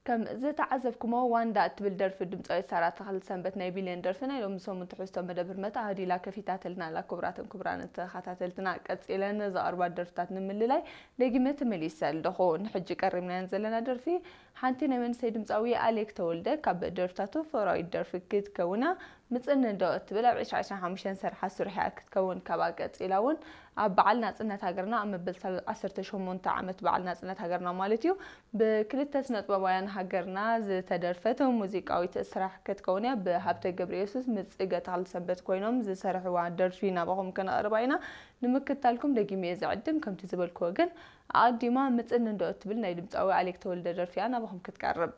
ከም ዝተዓዘብኩሞ ዋንዳ እትብል ደርፊ ድምፃዊት ሳራ ተኽለ ሰንበት ናይ ቢልዮን ደርፊ ናይ ሎሚ ሰሙን ትሕዝቶ መደብ ህርመት ኣህዲላ ከፊታትልና ኣላ። ክቡራትን ክቡራን ተኸታተልትና፣ ቀፂለን ዘቕርባ ደርፍታት ንምልላይ ደጊመ ተመሊሰ ኣለኹ። ንሕጂ ቀሪብናየን ዘለና ደርፊ ሓንቲ ናይ መንእሰይ ድምፃዊ ኣሌክ ተወልደ ካብ ደርፍታቱ ፍቕራዊት ደርፊ ክትከውና ምፅን እንዶ እትብል ኣብ ዕስራ ዕስራን ሓሙሽተን ሰርሓ ስርሕያ ክትከውን፣ ካብኣ ቀፂላ እውን ኣብ በዓል ናፅነት ሃገርና ኣብ መበል ዓሰርተ ሸሞንተ ዓመት በዓል ናፅነት ሃገርና ማለት እዩ ብክልተ ስነጥበባውያን ሃገርና ዝተደርፈት ሙዚቃዊት ስራሕ ክትከውን እያ። ብሃብተ ገብረየሱስ፣ ምፅገ ተኽለሰንበት ኮይኖም ዝሰርሕዋ ደርፊ ናባኹም ከነቕርባ ኢና። ንምክታልኩም ደጊመ እየ ዝዕድም። ከምቲ ዝበልክዎ ግን ኣቐዲማ ምፅን እንዶ እትብል ናይ ድምፃዊ ኣሌክ ተወልደ ደርፊ እያ ናባኹም ክትቀርብ።